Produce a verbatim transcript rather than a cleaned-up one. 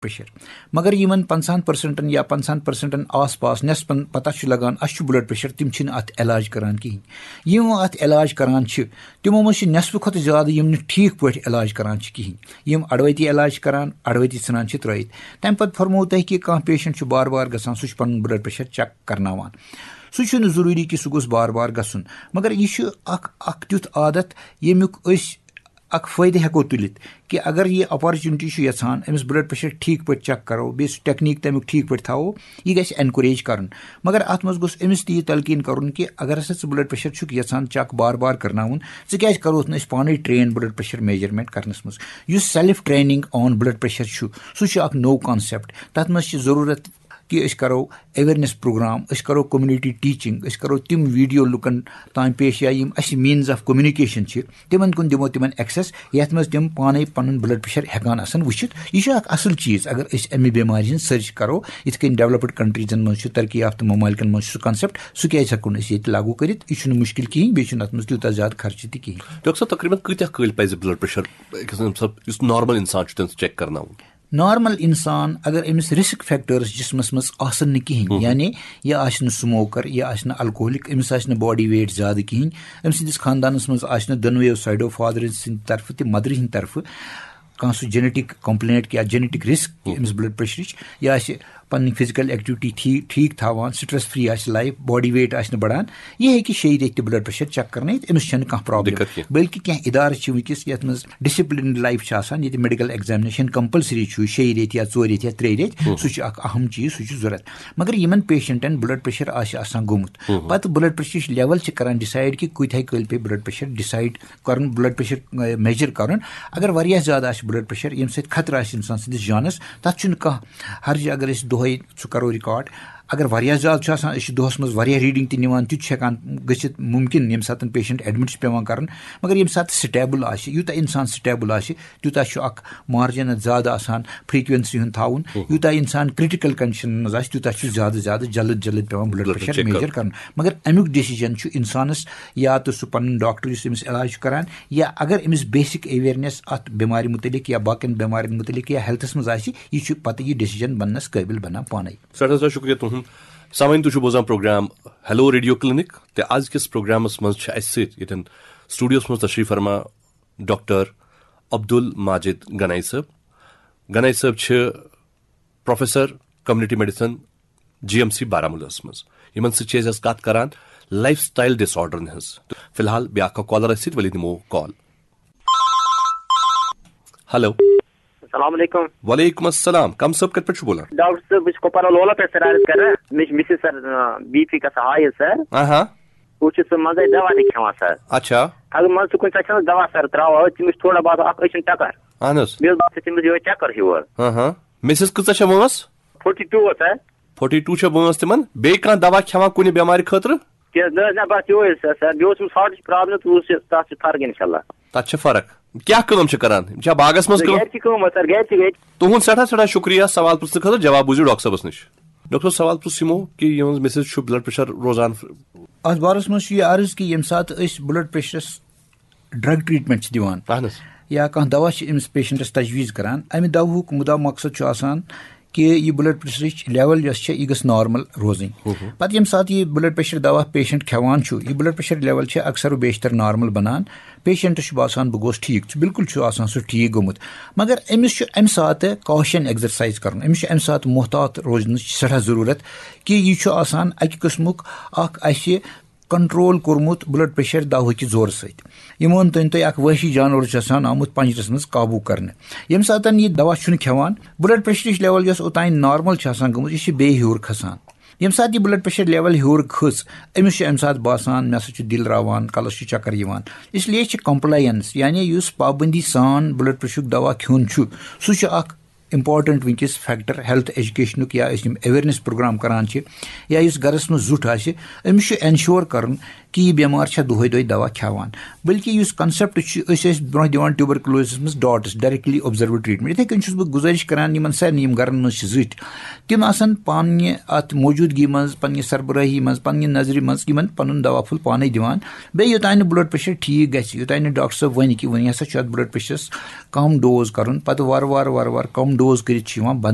Pressure. مگر یِمن پنٛژاہن پرسنٹن یا پنٛژاہن پرسنٹن آس پاس، نٮ۪صفن پتہ چھُ لگان اَسہِ چھُ بلڈ پریشر، تِم چھِنہٕ اَتھ علاج کران کِہیٖنۍ۔ یِم اَتھ علاج کران چھِ، تِمو منٛز چھِ نٮ۪صفہٕ کھۄتہٕ زیادٕ یِم نہٕ ٹھیٖک پٲٹھۍ علاج کران چھِ کِہیٖنۍ۔ یِم اڑوَتی علاج چھِ کران، اڑوَتی ژھٕنان چھِ ترٲیِتھ۔ تَمہِ پتہٕ فرموو تۄہہِ کہِ کانٛہہ پیشنٹ چھُ بار بار گژھان، سُہ چھُ پنُن بلڈ پریشر چیک کرناوان۔ سُہ چھُنہٕ ضروٗری کہِ سُہ گوٚژھ بار بار گژھُن، مگر یہِ چھُ اکھ، اکھ تیُتھ عادت، ییٚمیُک أسۍ اکھ فٲیدٕ ہٮ۪کو تُلِتھ کہِ اگر یہِ اپرچونٹی چھُ یژھان أمِس بلڈ پریشر ٹھیٖک پٲٹھۍ چیک کرو، بیٚیہِ سُہ ٹیکنیٖک تَمیُک ٹھیٖک پٲٹھۍ تھاوو، یہِ گژھِ اینکوریج کرُن۔ مگر اتھ منٛز گوٚژھ أمِس تہِ یہِ تلقیٖن کرُن کہِ اگر ہسا ژٕ بلڈ پریشر چھُکھ یژھان چیک بار بار کرناوُن، ژٕ کیازِ کروتھ نہٕ أسۍ پانے ٹرین بلڈ پریشر میجرمنٹ کرنس منٛز؟ یُس self training on blood pressure چھُ، سُہ چھُ اکھ نوٚو کانسیپٹ۔ تتھ منٛز چھِ ضروٗرت کہِ أسۍ کرو اویرنیس پروگرام، أسۍ کرو کمیونٹی ٹیچنگ، أسۍ کرو تِم ویڈیو لُکن تام پیش یا یِم اَسہِ مینز آف کمیونیکیشن چھِ، تِمن کُن دِمو تِمن ایکسیس، یَتھ منٛز تِم پانے پنُن بلڈ پریشر ہٮ۪کان آسن وٕچھِتھ۔ یہِ چھُ اکھ اصل چیٖز اگر أسۍ اَمہِ بٮ۪مارِ ہٕنٛز سٔرچ کرو۔ یِتھ کٔنۍ ڈیولپڈ کنٹریزن منٛز چھُ، ترقی یافتہٕ ممالکن منٛز چھُ سُہ کانسیپٹ، سُہ کیازِ ہٮ۪کو نہٕ أسۍ ییٚتہِ لاگو کٔرِتھ؟ یہِ چھُنہٕ مُشکِل کِہیٖنۍ، بیٚیہِ چھُنہٕ اَتھ منٛز تیوٗتاہ زیادٕ خرچہٕ تہِ کِہیٖنۍ۔ ڈاکٹر صٲب، تقریباً کۭتیاہ کٲلۍ پَزِ بلڈ پریشر أکِس اِنسان، یُس نارمل اِنسان چھُ، تٔمِس چیک کرناوُن؟ نارمل انسان اگر أمِس رسک فیکٹرز جسمس منٛز آسن نہٕ کِہیٖنۍ، یعنی یہِ آسہِ نہٕ سموکر، یہِ آسہِ نہٕ الکوہلک، أمِس آسہِ نہٕ باڈی ویٹ زیادٕ کِہیٖنۍ، أمۍ سٕنٛدِس خاندانس منٛز آسہِ نہٕ دۄنوَیو سایڈو، فادر سٕنٛدِ طرفہٕ تہِ مدرِ ہٕنٛدِ طرفہٕ، کانٛہہ سُہ جینیٹک کمپلینٹ یا جینیٹک رسک أمِس بلڈ پریشرٕچ، یہِ آسہِ پنٕنۍ فزیکل ایکٹیویٹی ٹھیٖک ٹھیٖک تھاوان، سٹریس فری آسہِ لایف، باڈی ویٹ آسہِ نہٕ بڑان، یہِ ہیٚکہِ شیٚیہِ ریٚتۍ تہِ بلڈ پریشر چیک کرنٲیِتھ، أمِس چھَنہٕ کانٛہہ پرابلم۔ دِقت کینٛہہ۔ بلکہِ کینٛہہ ادارٕ چھِ وٕنکیٚس یتھ منٛز ڈسپلنڈ لایف چھِ آسان، ییٚتہِ میڈیکل ایگزامنیشن کمپلسری چھُ شیٚیہِ ریٚتۍ یا ژورِ ریٚتۍ یا ترٛیٚیہِ ریٚتۍ، سُہ چھُ اکھ اہم چیٖز، سُہ چھُ ضروٗرت۔ مگر یِمن پیشنٹن بلڈ پریشر آسہِ آسان گوٚمُت، پتہٕ بلڈ پریشرٕچ لیول چھِ کران ڈسایڈ کہِ کۭتیاہ کٲلۍ پیٚیہِ بلڈ پریشر ڈسایڈ کرُن، بلڈ پریشر میجر کرُن۔ اگر واریاہ زیادٕ آسہِ بلڈ پریشر، ییٚمہِ سۭتۍ خطرٕ آسہِ انسان سٕنٛدِس جانس، تتھ چھُنہٕ کانٛہہ حرج۔ اگر أسۍ دۄہے سُہ کرو ریکارڈ، اگر واریاہ زیادٕ چھُ آسان، أسۍ چھِ دۄہس منٛز واریاہ ریڈنگ تہِ نِوان، تہِ چھُ ہٮ۪کان گٔژھِتھ مُمکِن، ییٚمہِ ساتہٕ پیشنٹ ایڈمٹ چھُ پٮ۪وان کرُن۔ مگر ییٚمہِ ساتہٕ سٹیبل آسہِ، یوٗتاہ انسان سٹیبل آسہِ، تیوٗتاہ چھُ اکھ مارجن زیادٕ آسان فریکوینسی ہُنٛد تھاوُن۔ یوٗتاہ انسان کریٹیکل کنڈیشن منٛز آسہِ، تیوٗتاہ چھُ زیادٕ زیادٕ جلد جلد پٮ۪وان blood blood pressure pressure check measure کرُن۔ کرُن۔ مگر امیُک ڈیسیجن چھُ انسانس یا تہٕ سُہ پنُن ڈاکٹر یُس أمِس علاج چھُ کران، یا اگر أمِس بیسک اویرنیس اتھ بٮ۪مارِ متعلق یا باقین بٮ۪مارٮ۪ن متعلق یا ہیلتھس منٛز آسہِ، یہِ چھُ پتہٕ یہِ ڈیسیجن بننس قٲبل بنان پانے۔ سٮ۪ٹھاہ سٮ۪ٹھاہ شُکریہ تُہُنٛد۔ سامعیٖن، تُہۍ چھِو بوزان پروگرام ہیلو ریڈیو کلینک، تہٕ أزکِس پروگرامس منٛز چھِ اَسہِ سۭتۍ ییٚتٮ۪ن سٹوڈیوس منٛز تشریف فرما ڈاکٹر عبدل ماجد گنائی صٲب۔ گنائی صٲب چھِ professor community medicine G M C بارہمولہس منٛز۔ یِمن سۭتۍ چھِ أسۍ آز کتھ کران لائف سٹائل ڈس آرڈرن ہٕنٛز۔ تہٕ فی الحال بیٛاکھ اکھ کالر اَسہِ سۭتۍ، ؤلِو دِمو کال۔ ہیلو۔ السلام علیکم۔ وعلیکم السلام، کم صٲب کتہِ پٮ۪ٹھ چھُو بولان؟ ڈاکٹر صٲب، بہٕ چھُس کۄپوارہ لولہ پٮ۪ٹھ سر عرض کران۔ مےٚ چھِ مِسز سر، آ، بی پی گژھان ہاے حظ سر۔ آہا۔ بہٕ چھُس سُہ منٛزَے دوا تہِ کھٮ۪وان سر۔ اچھا۔ اگر منٛزٕ تہِ کُنہِ ساتہٕ چھَنہٕ دوا سر ترٛاوان، تٔمِس چھُ تھوڑا بہت اکھ أچھَن چکر۔ اہن حظ۔ بیٚیہِ حظ باسان تٔمِس یِہوٚے چکر ہیوٗ حظ۔ اہا۔ مِسز کۭژاہ چھےٚ وٲنٛس؟ فورٹی ٹوٗ حظ سر۔ فورٹی ٹوٗ چھےٚ وٲنٛس تِمن۔ بیٚیہِ کانٛہہ دوا کھٮ۪وان کُنہِ بٮ۪مارِ خٲطرٕ؟ کینٛہہ نہ حظ، نہ، بس یِہوٚے حظ سر۔ بیٚیہِ اوس أمِس ہارٹٕچ پرابلم، تہٕ اوس یہِ، تَتھ چھِ فرق اِنشاءاللہ۔ تَتھ چھِ فرق۔ کیٛاہ کٲم چھِ کران؟ یِم چھا باغس منٛز کٲم؟ گرِ چھِ کٲم حظ سر، گرِ چھِ، گرِ۔ تُہُنٛد سٮ۪ٹھاہ سٮ۪ٹھاہ شُکریہ سوال پرٛژھنہٕ خٲطرٕ، جواب بوٗزِو ڈاکٹر صٲبس نِش۔ ڈاکٹر صٲب، سوال پرٛژھ یِمو کہِ یِہٕنٛز مِسز چھُ بلڈ پریشر روزان۔ اتھ بارس منٛز چھُ یہِ عرض کہِ ییٚمہِ ساتہٕ أسۍ بلڈ پریشرس ڈرگ ٹریٹمنٹ چھِ دِوان، اہن حظ۔ یا کانٛہہ دوا چھِ أمِس پیشنٹس تجویز کران، امہِ دوہُک مُدا مقصد چھُ آسان کہِ یہِ بلڈ پریشرٕچ لیول یۄس چھےٚ، یہِ گٔژھ نارمل روزٕنۍ۔ ہُہ ہُہ۔ پتہٕ ییٚمہِ ساتہٕ یہِ بلڈ پریشر دوا پیشنٹ کھٮ۪وان چھُ، یہِ بلڈ پریشر لیول چھِ اکثر و بیشتر نارمل بنان۔ پیشنٹس چھُ باسان، بہٕ گوس ٹھیٖک، چھُ بالکل چھُ آسان سُہ ٹھیٖک گوٚمُت، مگر أمِس چھُ امہِ ساتہٕ کوشن ایکزرسایز کرُن، أمِس چھُ امہِ ساتہٕ محتاط روزنٕچ سٮ۪ٹھاہ ضروٗرت کہِ یہِ چھُ آسان اکہِ قٕسمُک اکھ اسہِ کنٹرول کوٚرمُت بلڈ پریشر دوہٕکہِ زورٕ سۭتۍ۔ یِمن تُہۍ تُہۍ اکھ وحشی جانور چھُ آسان آمُت پنجرس منٛز قابو کرنہٕ۔ ییٚمہِ ساتہٕ یہِ دوا چھُنہٕ کھٮ۪وان، بلڈ پریشرٕچ لیول یۄس اوٚتام نارمل چھِ آسان گٔمٕژ، یہِ چھِ بیٚیہِ ہیوٚر کھسان۔ ییٚمہِ ساتہٕ یہِ بلڈ پریشر لیول ہیوٚر کھٔژ، أمِس چھُ اَمہِ ساتہٕ باسان، مےٚ ہسا چھُ دِل راوان، کلس چھُ چکر یِوان۔ اس لیے چھِ کمپلاینس، یعنی یُس پابندی سان بلڈ پریشرُک دوا کھیوٚن چھُ، سُہ چھُ اکھ امپارٹنٹ وٕنکیٚس فیکٹر ہیلتھ ایجوکیشنُک، یا أسۍ یِم اویرنیس پروگرام کران چھِ، یا یُس گرس منٛز زُٹھ آسہِ، أمِس چھُ انشور کرُن کہِ یہِ بٮ۪مار چھا دۄہے دۄہے دوا کھٮ۪وان۔ بلکہِ یُس کنسیپٹ چھُ، أسۍ ٲسۍ برونٛہہ دِوان ٹیوبرکلوزس منٛز ڈاٹس، ڈائریکٹلی آبزرو ٹریٹمنٹ۔ یِتھے کٔنۍ چھُس بہٕ گزٲرش کران یِمن سارنٕے یِم گرن منٛز چھِ زٕٹھۍ، تِم آسن پننہِ اتھ موجودگی منٛز، پننہِ سربراہی منٛز، پننہِ نظرِ منٛز یِمن پنُن دوا پھوٚل پانے دِوان۔ بیٚیہِ یوٚتام نہٕ بلڈ پریشر ٹھیٖک گژھِ، یوٚتام نہٕ ڈاکٹر صٲب ونہِ کہِ وۄنۍ ہسا چھُ اتھ بلڈ پریشرس کم ڈوز کرُن، پتہٕ وارٕ وارٕ وارٕ وارٕ کم ڈوز کٔرِتھ چھُ یِوان بند